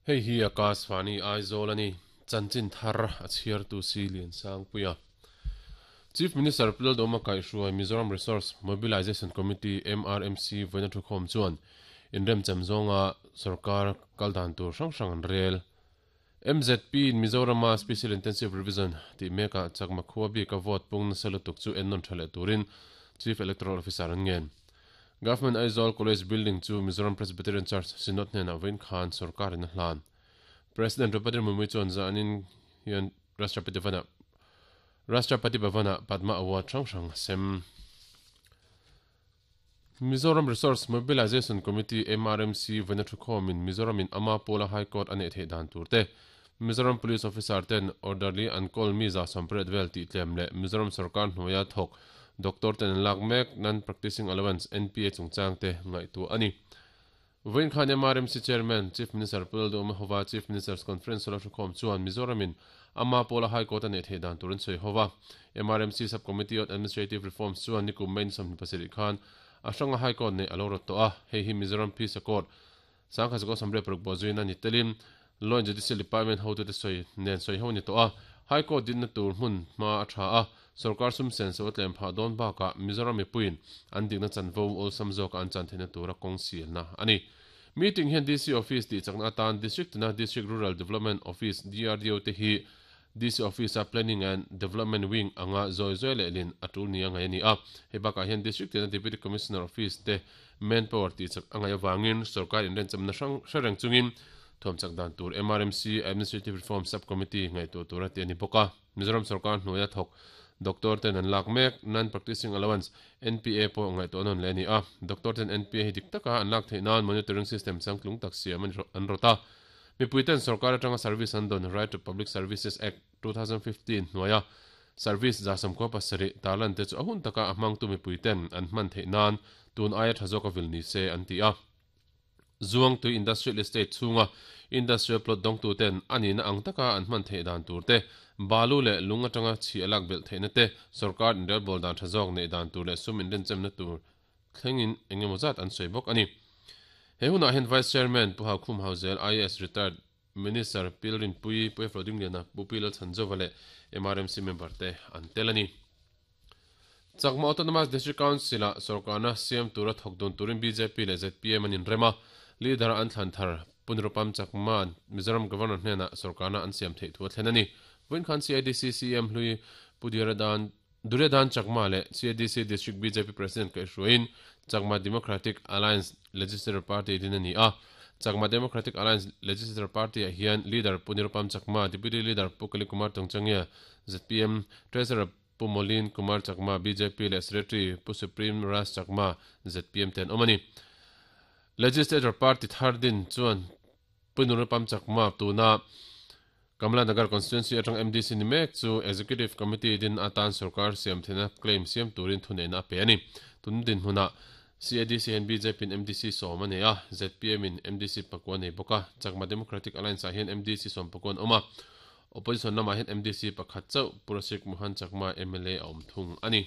Hei hi Akashvani Aizawl a ni. Chanchin thar a chhiartu si Liansangpuia. Chief Minister Pu Lalduhoma kaihhruai Mizoram Resource Mobilisation Committee, MRMC, vawiina thukhawm chuan inremchem zawnga sorkar kal dan tur hrang hrang an rel. MZP in Mizorama Special Intensive Revision tih mekah Chakma khua bika vote pung nasa lutuk chu ennawn tha leh turin Chief Electoral Officer an ngen. Government Aizawl College Building chu Mizoram Presbyterian Church Synod hnenah vawiin khan sorkarin a hlan. President Draupadi Murmu chuan zanin hian Rashtrapati Bhavan-ah Rashtrapati Bhavan-ah Padma Award hrang hrang a sem. Mizoram Resource Mobilisation Committee, MRMC, vawiina thukhawmin Mizoramin ama pawla High Court a neih theih dan tur te, Mizoram Police Officer ten orderly an kawl mi 180 vel tih tlem leh Mizoram sorkar hnuaia thawk doctor ten an lak mek Non-Practicing Allowance, NPA, chungchang te ngaihtuah a ni. Vawiin khan MRMC Chairman, Chief Minister Pu Lalduhoma hova Chief Minister's Conference hall a hrukhawm chuan Mizoramin ama pawla High Court a neih theih dan tur an sawi hova. MRMC Sub-Committee on Administrative Reforms chuan nikum May ni 27 khan a hranga High Court neih a lo rawt tawh a, hei hi Mizoram Peace Accord 1996 bawhzuina ni telin Law and Judicial Department hotute sawi nen sawi ho ni tawh a, High Court dinna tur hmun hma a tha a, sorkar sum sen so a tlem phah dawn bakah Mizoram mipuiin an dikna chanvo awlsam zawka an chan theihna tura kawng sialna a ni. Meeting hian DC Office tih chakna atan District tina District Rural Development Office, DRDO, te hi DC Office-a Planning and Development Wing anga zawi zawi lehlin a tul nia ngaih a ni a. Hei bakah hian District tina Deputy Commissioner Office te manpower tih chak a ngaih avangin sorkar inrenchawmna hrang hre reng chungin thuam chak dan tur MRMC Administrative Reform Sub-Committee ngaihtuah tura tih a ni bawk a. Mizoram sorkar hnuaia thawk doctor ten an lak mek Non-Practicing Allowance, NPA, pawh ngaihtuah nawn leh a ni a. Doctor ten NPA hi dik taka an lak theih nan monitoring system changtlung tak siam an rawt a. Mipui ten sorkar atanga service an dawn Right to Public Services Act, 2015 hnuaia service 77 tarlan te chu a hun taka a hmangtu mipui ten an hman theih nan tun aia tha zawk a vil ni se an ti a. Zuangtui Industrial Estate chhunga industrial plot dawngtu ten a nihna ang taka an hman theih dan tur te, balu leh lung atanga chhi a lak belh theihna te, sorkar inrelbawl dan tha zawk neih dan tur leh sum inrenchemna tur thlengin eng emaw zat an sawi bawk a ni. He hunah hian Vice Chairman Pu Haukhum Hauzel, IAS Retired Minister Pil Rinpuii, Pu Efro Dingliana, Pu Pi Lalchhanzova leh MRMC member te an tel a ni. Chakma Autonomous District Council-ah sorkarna siam tura thawk dun turin bjp leh zpm an inrem a, leader-a an thlan thar Pu Nirupam Chakma'n Mizoram Governor hnenah sorkarna an siam theih thu a thlen a ni. Vawiin khan CIDC CM hlui Pu Diradan Duryodhan Chakma leh CADC District bjp President kaihhruaiin Chakma Democratic Alliance Legislature Party din a ni a. Chakma Democratic Alliance Legislature Party-ah hian Leader Pu Nirupam Chakma, Deputy Leader Pu Kali Kumar Tongchangia, zpm, Treasurer Pu Molin Kumar Chakma, bjp, leh Secretary Pu Supreme Raj Chakma, zpm, te an awm a ni. Legislature Party thar din chuan Pu Nirupam Chakma tuna Kamla Nagar Constituency atang MDC ni mek chu Executive Committee din atan sorkar siam theihna claim siam turin thuneihna a pe a ni. Tun dinhmunah CADC hian bjp in MDC sawm a nei a, zpm in MDC pakua a nei bawk a, Chakma Democratic Alliance ah hian MDC sawm pakua an awm a, Opposition lamah hian MDC pakhat chauh Pu Rasik Mohan Chakma mla a awm thung a ni.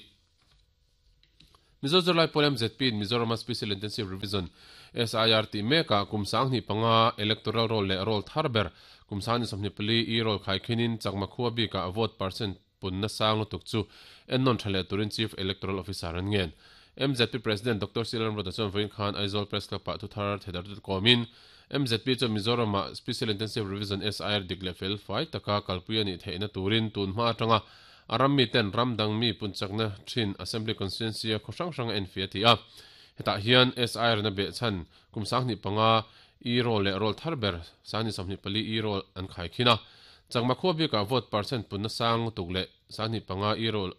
Mizo Zirlai Pawl MZP in Mizorama Special Intensive Revision, SIR, tih mekah kum 2005 Electoral Roll leh Roll thar ber kum 2024 e-roll khaikhinin Chakma khua bikah vote percent punna sang lutuk chu ennawn tha leh turin Chief Electoral Officer an ngen. MZP President Doctor C Lalramruata chuan vawiin khan Aizawl Press Club ah thuthar thedar tut kawmin MZP chuan Mizorama Special Intensive Revision, SIR, dik leh fel fai taka kalpui a nih theihna turin tun hma atanga A ram miten ram dang mi punchakna thin Assembly Constituency-a khaw hrang hrang a enfiah a ti a. Hetah hian SIR na behchhan kum 25 e-roll leh roll thar ber 2024 e-roll an khaikhin a. Chakma khua bikah vote percent punna sang lutuk leh 25 e-roll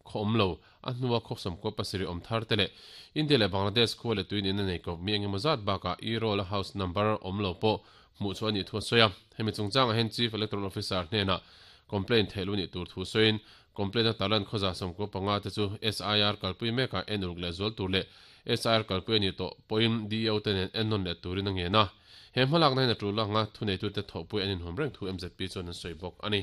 khaw awm lo a hnua khaw sawmkua pasarih awm thar te leh India leh Bangladesh khua leh tuin in a nei kawp mi engemaw zat bakah e-roll a house number awm lo pawh hmuh chu a nih thu a sawi a. Hemi chungchangah hian Chief Electoral Officer hnenah complaint theih lu nih tur thu sawiin complaint a tarlan khawza 15 te chu SIR kalpui mekah en uluk leh zual tur leh SIR kalpui a nih tawh pawhin DEO te nen en nawn leh turin a ngen a. He hmalakna hian a tul anga thuneitute thawhpui an inhawm reng thu MZP chuan an sawi bawk a ni.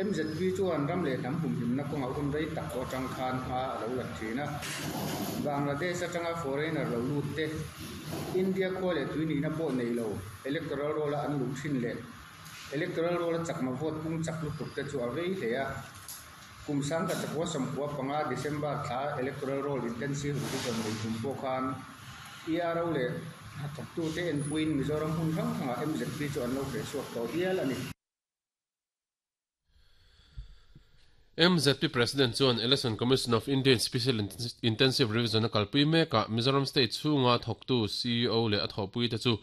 MZP chuan ram leh hnam humhimna kawngah hun rei tak tawh atang khan hma a lo la thin a. Bangladesh atanga foreigner lo lut te, India khua leh tui nihna pawh nei lo electoral roll-a an luh thin leh electoral roll-a chakma vote pung chak lutuk te chu a vei hle a. Kum 1995 December thla electoral roll intensive revision nei tum pawh khan ERO leh hnathawktute enpuiin Mizoram hmun hrang hrangah MZP chu an lo hrehchhuak tawh hial a ni. MZP President chuan Election Commission of India in Special Intensive Revision a kalpui mekah Mizoram State chhunga thawktu ceo leh a thawhpuite chu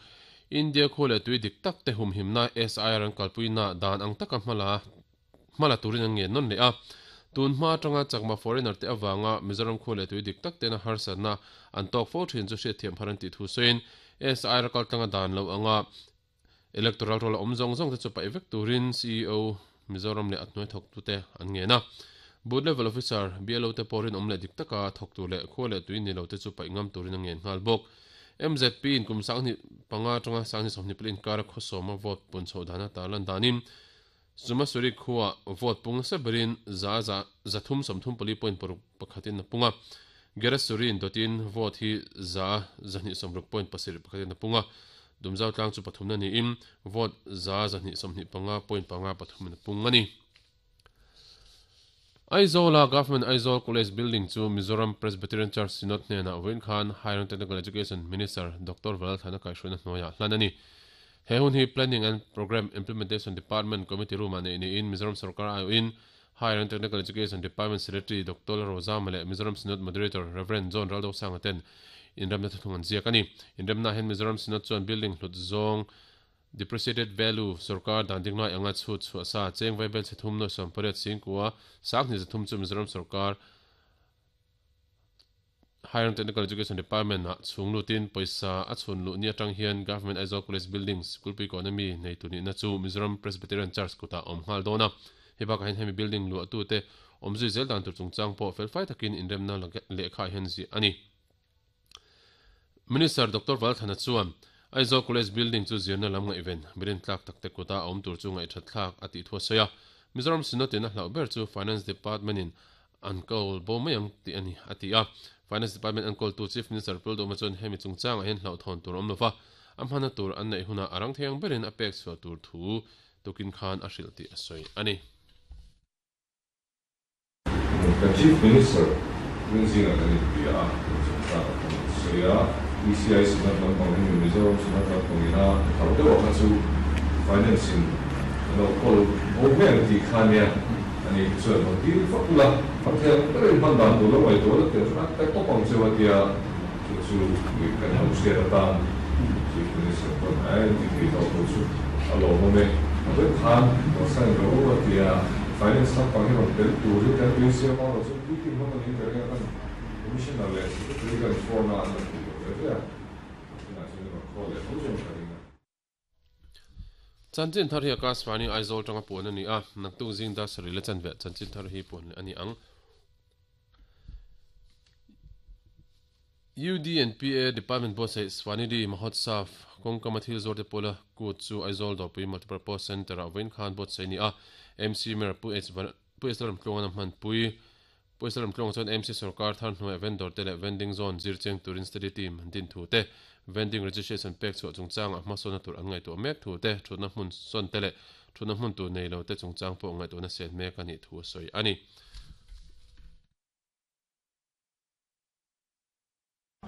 India khua leh tui dik tak te humhimna SIR an kalpuina dan ang taka hmala hmala turin an ngen nawn leh a. Tun hma atanga Chakma foreigner te avanga Mizoram khua leh tui dik tak tena harsatna an tawk fo thin chu hriatthiam har an tih thu sawiin SIR kaltlanga dan lo anga Electoral roll a awm zawng zawng te chu paih vek turin ceo Mizoram leh a hnuai thawktute an ngen a. Booth Level Officer, BLO te pawh rinawm leh dik taka thawk tur leh khua leh tui ni lo te chu paih ngam turin a ngen nghal bawk. MZP in kum 2005 atanga 2024 inkara khawsawma vote pun chhoh dana tarlan danin Sumasuri khuaa vote pung nasa berin za za 334 point paruk pakhatin a pung a. Gerasuri in dawtin vote hi 260 point pasarih pakhatin a pung a. Dumzau tlang chu pathumna niin vote 225 point panga pathumin a pung a ni. Aizawla Government Aizawl College Building chu Mizoram Presbyterian Church Synod hnenah vawiin khan Higher and Technical Education Minister Doctor Valalthana kaihhruaina hnuaiah hlan a ni. He hun hi Planning and Programme Implementation Department Committee Room-ah neih niin Mizoram Sorkar aiawhin Higher and Technical Education Department Secretary Doctor Lalrozama leh Mizoram Synod Moderator Rev. John Raldosanga ten inremna thuthlung an ziak a ni. Inremnaah hian Mizoram Synod chuan building hlut zawng Depreciated Value sorkar dan ding lai anga chhut chhuah sa cheng vaibel chhe thum nuai 18 singkua 20 3 chu Mizoram sorkar Higher and Technical Education Department ah chhung lutin pawisa a chhun luh ni atang hian Government Aizawl College Building Sikulpui Kawn ami neitu nihna chu Mizoram Presbyterian Church kutah a awm nghal dawn a. Hei bakah hian hemi building luahtute awmzui zel dan tur chungchang pawh felfai takin inremna lehkha ah hian ziah a ni. Minister Doctor Valthana chuan Aizawl College Building chu zirna lam ngaihven birin tlak takte kuta a awm tur chu ngaihthat thlak a tih thu a sawi a. Mizoram Synod in a hlauh ber chu Finance Department in an kawl bo mai ang tih a ni, a ti a. Finance Department enkawltu Chief Minister Pul Duhma chuan hemi chungchangah hian hlauhthawn tur a awm lova, a hmana tur an neih hunah a rang thei ang berin a pek chhuah tur thu tukin khan a hrilh tih a sawi a ni. Kan Chief Minister Rinzinga kan inbia a, kan chungchang a kan sawi a, ECI Synod lampang hi Mizoram Synod lampang ina hlauh deuh a kha chu Finance in an lo kawl bo mai ang tih kha nia. Ani hi chuan rawn dil vak ula, kan thei ang berin hman dan tur lo ngaihtuah la teh chuan a pe tawp ang cheu a tia, chu chu mi kan lo hriat atan Chief Minister pawn a inti thei tawh tur chu a lawmawm e. A vek khan rawn sign rawh u a tia, Finance lampang hi rawn tel turin kan tuisiam a, rawn chu meeting hman a niin ka ring a, kan Commissioner leh Secretary kan phone a an rawn ti lo ve ve a, tunah chuan rawn call leh tho chuan ka ring a. Chanchin thar hi Akashvani Aizawl tanga puan a ni a, naktuk zing dar sarih la chanve chanchin thar hi puan leh a ni ang. UDNPA Department buatsaih Swanidhi Mahotsav kawngkama thil zawrte pawla kut chu Aizawl Dawrpui Multipurpose Centre-ah vawiin khan buatsaih a ni a, MC Mayor Pu H Pu H Lalramtluanga'n a hmanpui. Pu H Lalramtluanga chuan MC sorkar thar hnuaiah vendor te leh vending zone zir cheng turin study team an din thu te, vending registration pek chhuah chungchangah hmasawnna tur an ngaihtuah mek thu te, thutna hmun sawn te leh thutna hmun tur nei lo te chungchang pawh ngaihtuahna sian mek a nih thu a sawi a ni.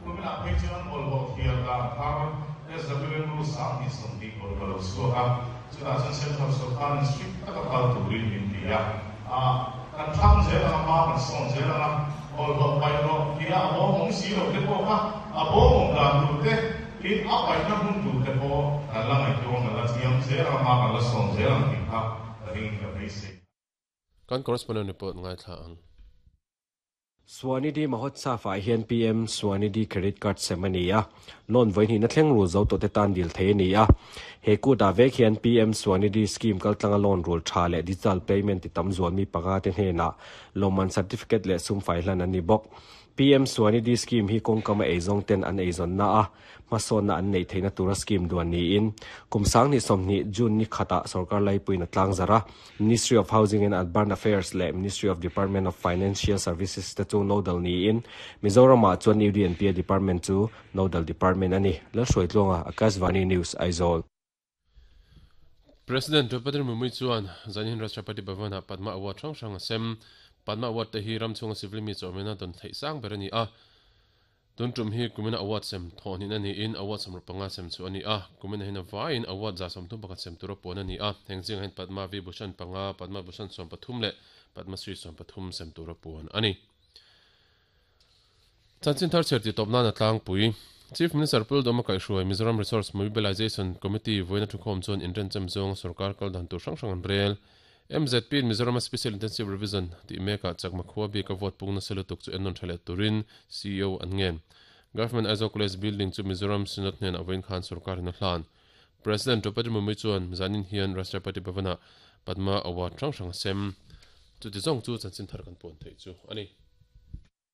Kuminah phei chuan bawlhhlawh thiar dan thar SWM Rule 2020 pawh ka lo chhuak a, chutah chuan Central Sorkarin strict taka kal turin min ti a, kan thlang zel ang a, hma kan sawn zel ang a, bawlhhlawh paih rawh tia a bawm awm si lo te pawh kha a bawm awm dan tur te, tin a paihna hmun tur te pawh kan la ngaihtuah ang, kan la thiam zel ang a, hma kan la sawn zel ang tih kha ka ring ka beisei. Kan correspondent report ngaithla ang. Swanidhi Mahotsav ah hian PM Swanidhi Credit Card sem a ni a, loan vawihnihna thleng rul zo tawhte tan dil thei a ni a. He kut ah vek hian PM Swanidhi scheme kaltlanga loan rul tha leh digital payment ti tam zual mi panga te hnenah lawmman certificate leh sum fai hlan an ni bawk. PM Swanidhi Scheme hi kawngkama eizawng ten an eizawnna a hmasawnna an neih theihna tura scheme duan niin kum 2020 June ni khatah sorkar laipuiin a tlangzarh a. Ministry of Housing and Urban Affairs leh Ministry of Department of Financial Services te chu nodal niin Mizoramah chuan UDNPA Department chu nodal department a ni. Lalhruaitluanga, Akashvani News, Aizawl. President Draupadi Murmu chuan Zanin Rashtrapati Bhavan-ah Padma Award hrang hrang a sem. Padma Award te hi ram chhunga civil mi chawhmehna dawn theih sang ber a ni a. Tun tum hi kumina award sem thawh hnihna niin award 65 sem chu a ni a. Kumina hian a vaiin award 31 sem tura puan a ni a. Heng zingah hian Padma Vibhushan panga, Padma Bhushan 13 leh Padma Shri 13 sem tura puan a ni. Chanchin thar chhiar tih tawp nan a tlangpui. Chief Minister Pu Lalduhma kaihhruai Mizoram Resource Mobilization Committee vawiina thukhawm chuan inrenchem zawnga sorkar kal dan tur hrang hrang an rel. MZP in Mizorama Special Intensive Revision tih mekah Chakma khua bika vote pung nasa lutuk chu ennawn tha leh turin ceo an ngen. Government Aizawl College building chu Mizoram Synod hnenah vawiin khan sorkarin a hlan. President Draupadi Murmu chuan zanin hian Rashtrapati Bhavan-ah Padma Award hrang hrang a sem. Chuti zawng chu chanchin thar kan puan theih chu a ni.